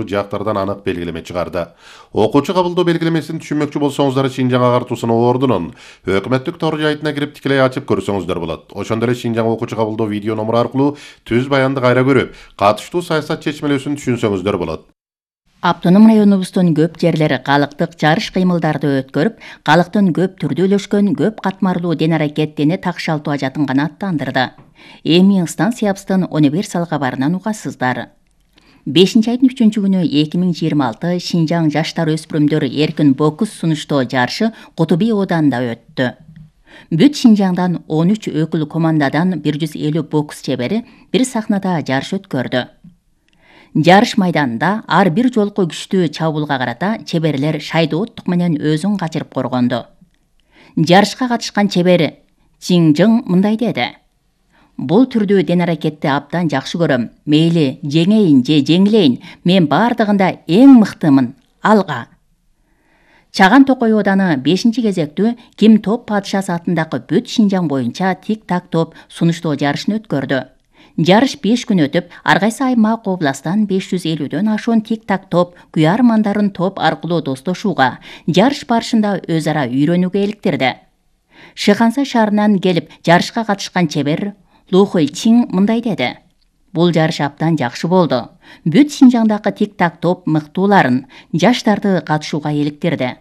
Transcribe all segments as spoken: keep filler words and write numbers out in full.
жактардан анык белгилеме чыгарды. Окуучу кабылдоо белгилемесин түшүнмөкчү болсоңуздар Шинжаң агартуусунун ордунун өкмөттүк тор жайтына кирип тикелей ачып көрсөңүздөр болот. Ошондой эле Шинжаң окуучу кабылдоо видео номуру аркылуу түз баянды кайра көрүп, катыштуу саясат чечмелөөсүн түшүнсөңүздөр болот. Автоном районубуздун көп жерлери калыктык жарыш кыймылдарды өткөрүп, калктын көп түрдүү үйлөшкөн көп катмарлуу ден-аракет дене такшалтуу ажатын гана аттандырды. Эми станциябыздын универсал кабарынан угасыздар. бешинчи айдын үчүнчү күнү эки миң жыйырма алты Шинжаң жаштар өспүрүмдөр эркин бокс сунуштоо жарышы Куту Бий ооданында өттү. Бүт Шинжаңдан он үч өкүл командадан бир жүз элүү бокс чебери бир сахнада жарыш өткөрдү. Жарыш майданында ар бир жолку күчтүү чабуулга карата чеберлер шайдооттук менен өзүн качырып коргонду. Жарышка катышкан чебери Чиңжың мындай деди: Бул түрдүү ден-аракетти абдан жакшы көрөм. Мейли жеңейин же жеңилейин, мен бардыгында эң мыктымын. Алга. Чаган Токой ооданы бешинчи кезектүү Ким топ падышасы атындагы бүт Шинжаң боюнча тик-так топ сунуштоо жарышын өткөрдү. Жарыш беш күн өтүп, ар кайсы аймак областан беш жүз элүүдөн ашуун тик-так топ куярмандарын топ аркылуу достошууга, жарыш барышында өз ара үйрөнүүгө иликтирди. Шыханса шаарынан келип жарышка катышкан чебер Лухой Чиң мындай деди: Бул жарыш абдан жакшы болду. Бүт Шинжаңдагы тик-так топ мыктууларын, жаштарды катышууга иликтирди.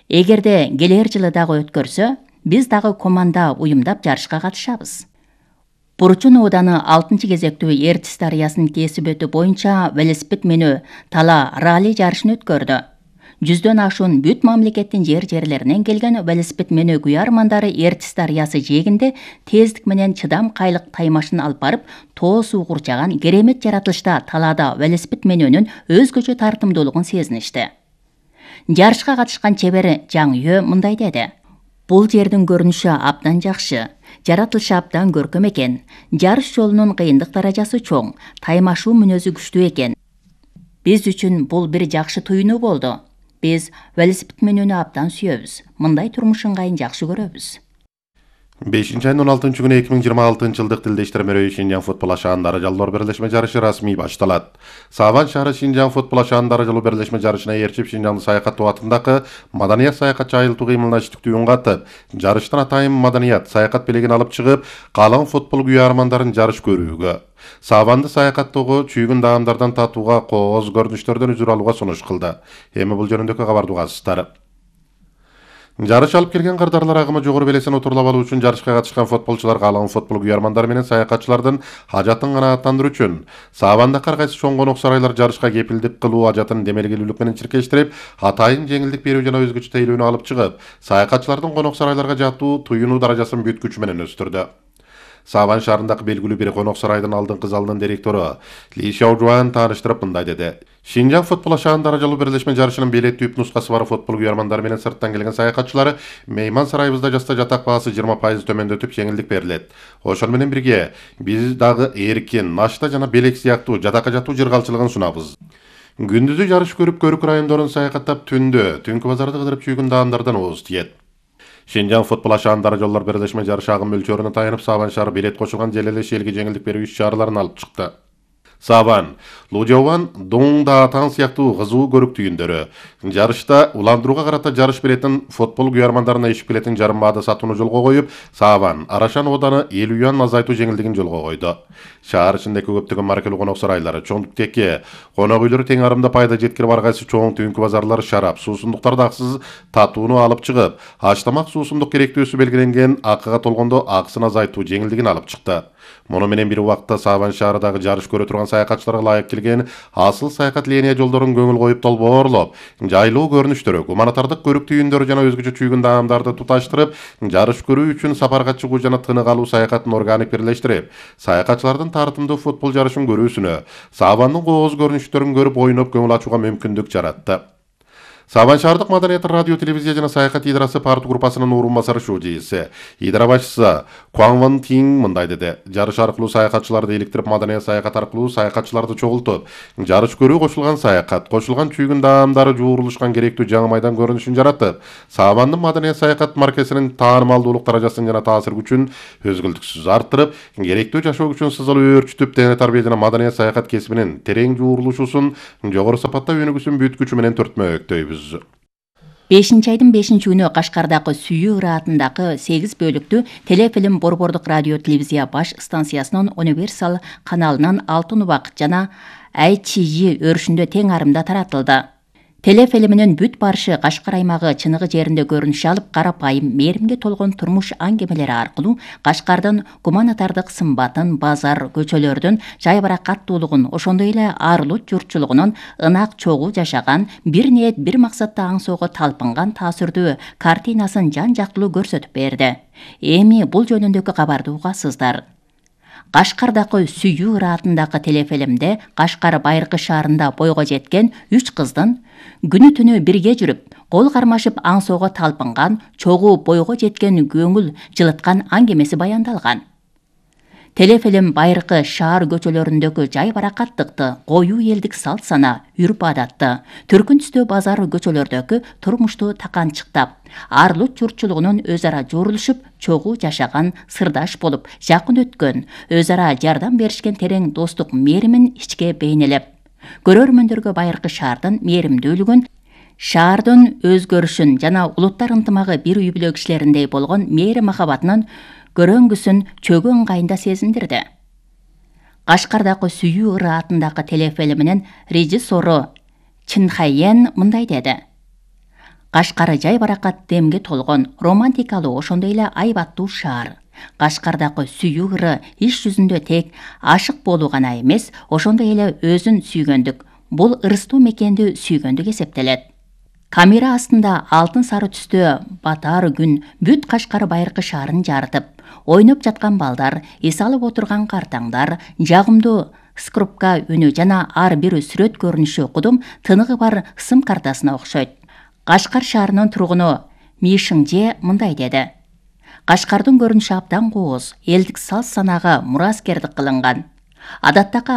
Эгерде келер жылы дагы өткөрсө, биз дагы команда уюмдап жарышка катышабыз. Бурчун ооданы алтынчы кезектүү Эртис дарыясын кесип өтүү боюнча велосипед менөө тала ралли жарышын өткөрдү. Жүздөн ашуун бүт мамлекеттин жер-жерлеринен келген велосипед менөө куярмандары Эртис дарыясы жээгинде тездик менен чыдам кайлык таймашын алып барып, тоо суу курчаган керемет жаратылышта талаада велосипед менөөнүн өзгөчө тартымдуулугун сезиништи. Жарышка катышкан чебери Жаңүйө мындай деди: Бул жердин көрүнүшү абдан жакшы, жаратылышы абдан көркөм экен, жарыш жолунун кыйындык даражасы чоң, таймашуу мүнөзү күчтүү экен. Биз үчүн бул бир жакшы туюнуу болду. Биз велосипед менөөнү абдан сүйөбүз. Мындай турмуш ыңгайын жакшы көрөбүз. бешинчи айдын он алтынчы күнү эки миң жыйырма алтынчы жылдык Тилде иштирмөрөй Шинжаң футбол ашаан даражалуулар бирлешме жарышы расмий башталат. Сабан шаары Шинжаң футбол ашаан даражалуу бирлешме жарышына ээрчип Шинжаңды саякаттоо атындагы маданият саякатчы айылтуу кыймылына иштиктүү үн катып, жарыштан атайын маданият саякат белегин алып чыгып, калың футбол куярмандарын жарыш көрүүгө, Сабанды саякаттоого, чүйгүн даамдардан татууга, кооз көрүнүштөрдөн үзүр алууга сунуш кылды. Эми бул жөнүндөгү кабарды угасыздар. Жарыш алып келген кардарлар агымы жогору белесин отурлап алуу үчүн жарышка катышкан футболчулар калың футбол куярмандары менен саякатчылардын ажатын канааттандыруу үчүн Сабандагы ар кайсы чоң конок сарайлар жарышка кепилдик кылуу ажатын демелгилүүлүк менен чиркештирип, атайын жеңилдик берүү жана өзгөчө тейлөөнү алып чыгып, саякатчылардын конок сарайларга жатуу, туюнуу даражасын бүт күчү менен өстүрдү. Сабан шаарындагы белгилүү бир конок сарайдын алдыңкы залынын директору Ли Шаожуан тааныштырып мындай деди: Шинжаң футбол ашаан даражалуу бирлешме жарышынын билет түп нускасы бар футбол куярмандары менен сырттан келген саякатчылары мейман сарайыбызда жаста жатак баасы жыйырма пайыз төмөндөтүп жеңилдик берилет. Ошол менен бирге биз дагы эркин, нашта жана белек сыяктуу жатакка жатуу жыргалчылыгын сунабыз. Күндүзү жарыш көрүп, көрүк райондорун саякаттап, түндө түнкү базарды кыдырып чүйгүн даамдардан ооз тиет. Шинжаң футбол ашаан даражалуулар бирлешме жарышы агым мөлчөрүнө таянып, Сабан шаары билет кошулган желелеш элге жеңилдик берүү иш-чараларын алып чыкты. Сабан, Лужован, Дуң Даатан сыяктуу кызуу көрүк түйүндөрү. Жарышта уландырууга карата жарыш билетин футбол куярмандарына ишип билетин жарым баада сатууну жолго коюп, Сабан, Арашан ооданы элүү юан азайтуу жеңилдигин жолго койду. Шаар ичиндеги көптөгөн маркелүү конок сарайлары, чоң теке, конок үйлөрү тең арымда пайда жеткирип, ар кайсы чоң түнкү базарлар шарап, суусундуктарды акысыз татууну алып чыгып, аштамак суусундук керектөөсү белгиленген акыга толгондо акысын азайтуу жеңилдигин алып чыкты. Муну менен бир убакта Сабан шаарындагы жарыш көрө турган саякатчыларга ылайык келген асыл саякат линия жолдорун көңүл коюп долбоорлоп, жайлуу көрүнүштөрү, гуманитардык көрүк түйүндөрү жана өзгөчө чүйгүн даамдарды туташтырып, жарыш көрүү үчүн сапарга чыгуу жана тынык алуу саякатын органик бирлештирип, саякатчылардын тартымдуу футбол жарышын көрүүсүнө, Сабандын кооз көрүнүштөрүн көрүп, ойноп көңүл ачууга мүмкүндүк жаратты. Сабан шаардык маданият радио телевизия жана саякат идарасы парт группасынын орун басары шуу жийси, идара башчысы Кван Ван Тинг мындай деди: жарыш аркылуу саякатчыларды иликтирип, маданият саякат аркылуу саякатчыларды чогултуп, жарыш көрүү кошулган саякат, кошулган чүйгүн даамдары жуурулушкан керектүү жаңы майдан көрүнүшүн жаратып, Сабандын маданият саякат маркесинин таанымалдуулук даражасын жана таасир күчүн өзгөлтүксүз арттырып, керектүү жашоо күчүн сызылып өөрчүтүп, дене тарбия жана маданият саякат кесибинин терең жуурулушусун жогору сапатта өнүгүүсүн бүткүчү менен төртмөктөйбүз. бешинчи айдын бешинчи күнү Кашкардагы Сүйүү ыраатындагы сегиз бөлүктүү телефилм Борбордук радио телевизия баш станциясынын Универсал каналынын Алтын убак жана ай чи жи өрүшүндө тең арымда таратылды. Телефилминин бүт барышы Кашкар аймагы чыныгы жеринде көрүнүш алып, карапайым, мээримге толгон турмуш аңгемелери аркылуу Кашкардын гуманитардык сымбатын, базар, көчөлөрдүн жайбаракаттуулугун, ошондой эле арлут журтчулугунун ынак чогуу жашаган, бир ниет, бир максатта аңсоого талпынган таасирдүү картинасын жан жактылуу көрсөтүп берди. Эми бул жөнүндөгү кабарды угасыздар. Кашкардагы Сүйүү ыраатындагы телефилмде Кашкар Байыркы шаарында бойго жеткен үч кыздын күнү түнү бирге жүрүп, кол кармашып аңсоого талпынган, чогуу бойго жеткен көңүл жылыткан аңгемеси баяндалган. Телефилм Байыркы шаар көчөлөрүндөгү жайбаракаттыкты, коюу элдик салт сана, үрп адатты, түркүн түстүү базар көчөлөрдөгү турмушту таканчыктап, арлут журтчулугунун өз ара жуурулушуп, чогуу жашаган, сырдаш болуп, жакын өткөн, өз ара жардам беришкен терең достук мээримин ичке бейнелеп, көрөрмөндөргө Байыркы шаардын мээримдүүлүгүн, шаардын өзгөрүшүн жана улуттар ынтымагы бир үй бүлө кишилериндей болгон мээри махабатынын көрөңгүсүн чөгүү ыңгайында сезиндирди. Кашкардагы Сүйүү ыраатындагы телефилминин режиссеру Чин Хайен мындай деди: Кашкар жайбаракат демге толгон, романтикалуу, ошондой эле айбаттуу шаар. Кашкардагы Сүйүү ыры иш жүзүндө тек ашык болуу гана эмес, ошондой эле өзүн сүйгөндүк, бул ырыстуу мекенди сүйгөндүк эсептелет. Камера астында алтын сары түстө батар күн бүт Кашкар Байыркы шаарын жарытып, ойноп жаткан балдар, эс алып отурган картаңдар, жагымдуу скрупка үнү жана ар бир сүрөт көрүнүшү кудум тыныгы бар сым картасына окшойт. Кашкар шаарынын тургуну Ми Шыңже мындай деди: Кашкардын көрүнүшү абдан кооз, элдик салт санаага мураскердик кылынган. Адаттагы